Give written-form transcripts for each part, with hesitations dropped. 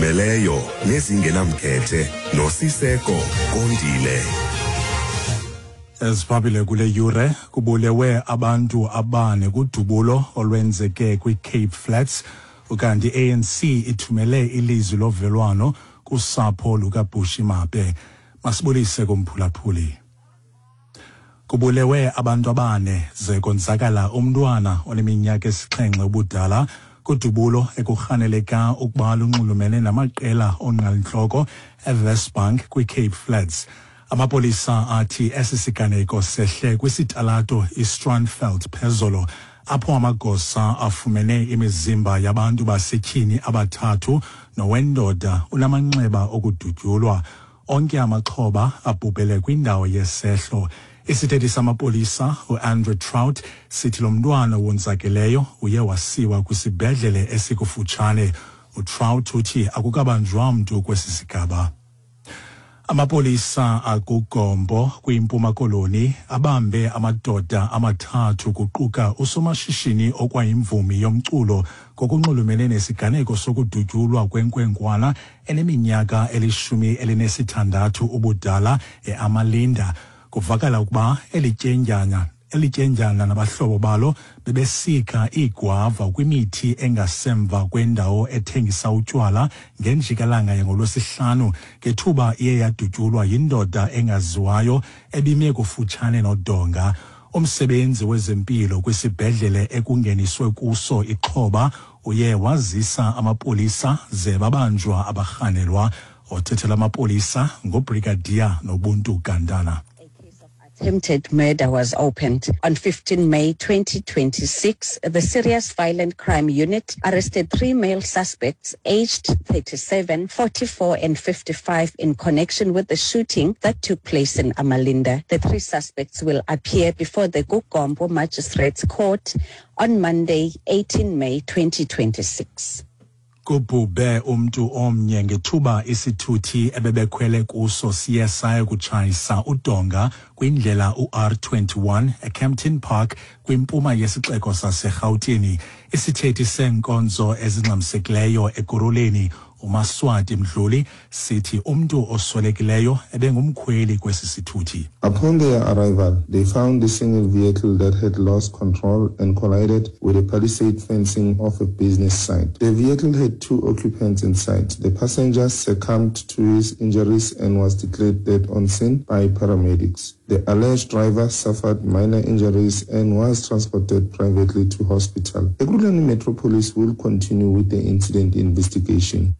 Meleyo nezingenamkhethe noSiseko Kondile. Eziphambili kule yure kubulewe abantu abane kudubulo olwenzeke kwiCape Flats ukanti i-ANC ithumele ilizwi lovelwano kusapho lukaBushi Mape. Masibulise kumphulaphuli. Kubulewe abantu abane ze konzakala umntwana oneminyaka esixhenxe ubudala kudubulo ekurhaneleka ukuba lunxulumene namaqela onqalintloko eWestbank kwiCape Flats. Amapolisa athi esi siganeko sehle kwisitalato iStrandveld phezolo apho amagosa afumene imizimba yabantu basetyhini abathathu nowendoda unamanxeba okudutyulwa. Onke amaxhoba abhubhele kwindawo yesehlo. Isithethi samapolisa uAndrew Trout sithi lo mntwana wonzakeleyo uye wasiwa kwisibhedlele esikufutshane. UTrout uthi akukabanjwa mntu kwesi sigaba. Amapolisa akuGompo kwiMpuma Koloni abambe amadoda amathathu kuquka usomashishini okwayimvumi yomculo ngokunxulumene nesiganeko sokudutyulwa kwenkwenkwana eneminyaka elishumi elinesithandathu ubudala eAmalinda. Kuvakala ukuba elityendyana elityendyana nabahlobo balo bebesika iigwava kwimithi engasemva kwendawo ethengisa utywala ngenjikalanga yangolwesihlanu ngethuba iye yadutyulwa yindoda engaziwayo ebime kufutshane nodonga. Umsebenzi wezempilo kwisibhedlele ekungeniswe kuso ixhoba uye wazisa amapolisa ze babanjwa abarhanelwa. Othethela amapolisa nguBrigadier Nobuntu Gantana. Attempted murder was opened. On 15 May 2026, the Serious Violent Crime Unit arrested three male suspects aged 37, 44 and 55 in connection with the shooting that took place in Amalinda. The three suspects will appear before the Kugompo Magistrates Court on Monday, 18 May 2026. Kubhubhe umntu omnye ngethuba isithuthi ebebekhwele kuso siye saya kutshayisa udonga kwindlela uR21 eKempton Park kwimpuma yesixeko saseRhawutini. Isithethi seenkonzo ezingxamisekileyo Ekurhuleni uMaswati Mdluli sithi umntu oswelekileyo ebengumkhweli kwesi sithuthi. Upon their arrival, they found the single vehicle that had lost control and collided with a palisade fencing of a business site. The vehicle had two occupants inside. The passenger succumbed to his injuries and was declared dead on scene by paramedics. The alleged driver suffered minor injuries and was transported privately to hospital. Ekurhuleni Metro Police will continue with the incident investigation.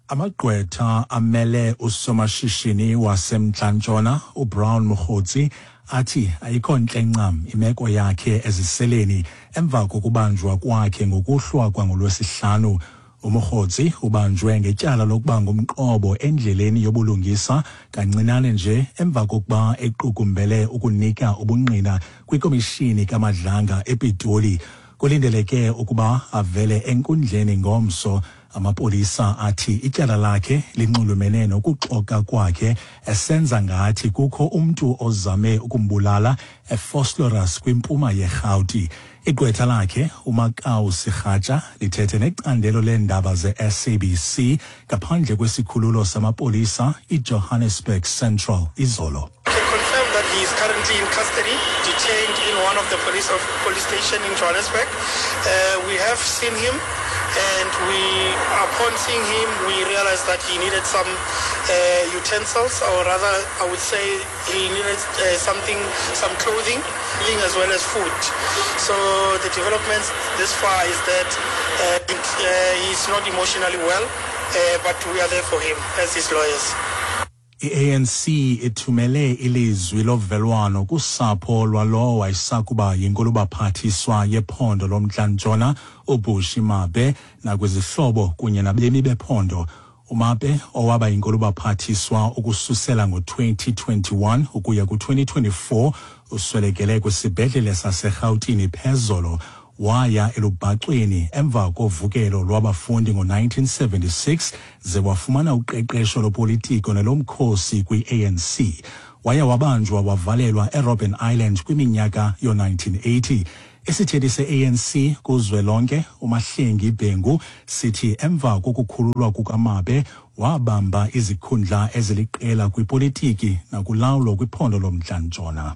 Amagqwetha amele usomashishini wasemNtla-Ntshona uBrown Mogotsi athi ayikho ntle ncam imeko yakhe eziseleni emva kokubanjwa kwakhe ngokuhlwa kwangolwesihlanu. UMogotsi ubanjwe ngetyala lokuba ngumqobo endleleni yobulungisa kancinane nje emva kokuba equkumbele ukunika ubungqina kwikomishini kaMadlanga ePitoli. Kulindeleke ukuba avele enkundleni ngomso. Amapolisa athi ityala lakhe linxulumene nokuxoka kwakhe esenza ngathi kukho umntu ozame ukumbulala eVosloorus kwimpuma yeRhawuti. Igqwetha lakhe uMakau Segatja lithethe necandelo leendaba ze-SABC ngaphandle kwesikhululo samapolisa iJohannesburg Central izolo. Can confirm that he is currently in custody, detained in one of the police of police station in Johannesburg. We have seen him, and we, upon seeing him, we realized that he needed some utensils, or rather, I would say he needed something, some clothing, as well as food. So the developments this far is that he's not emotionally well, but we are there for him as his lawyers. I-ANC ithumele ilizwi lovelwano kusapho lwalowo wayesakuba yinkulubaphathiswa yephondo lomNtla-Ntshona uBushy Mape nakwizihlobo kunye nabemi bephondo. UMape owaba yinkulubaphathiswa ukususela ngo-2021 ukuya ku-2024 uswelekele kwisibhedlele saseRhawutini phezolo. Waya elubhacweni emva kovukelo lwabafundi ngo-1976 ze wafumana uqeqesho lopolitiko nelomkhosi kwi-ANC. Waye wabanjwa wavalelwa eRobben Island kwiminyaka yo-1980. Isithethi se-ANC kuzwelonke uMahlengi Bhengu sithi emva kokukhululwa kukaMabe wabamba izikhundla eziliqela kwipolitiki nakulawulo kwiphondo lomntla-ntshona.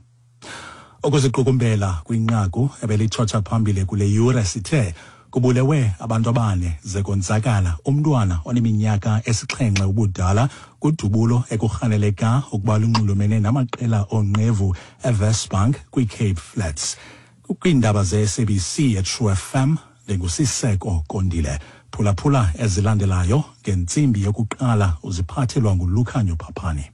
Ukuziqukumbela kwinqaku ebelitshotsha phambili kule yure sithe kubulewe abantu abane ze konzakala umntwana oneminyaka esixhenxe ubudala kudubulo ekurhaneleka ukuba lunxulumene namaqela oonqevu eWestbank kwiCape Flats. Kwiindaba ze-SABC eTrue FM ndinguSiseko Kondile. Phulaphula ezilandelayo ngentsimbi yokuqala uziphathelwa nguLukhanyo Phaphani.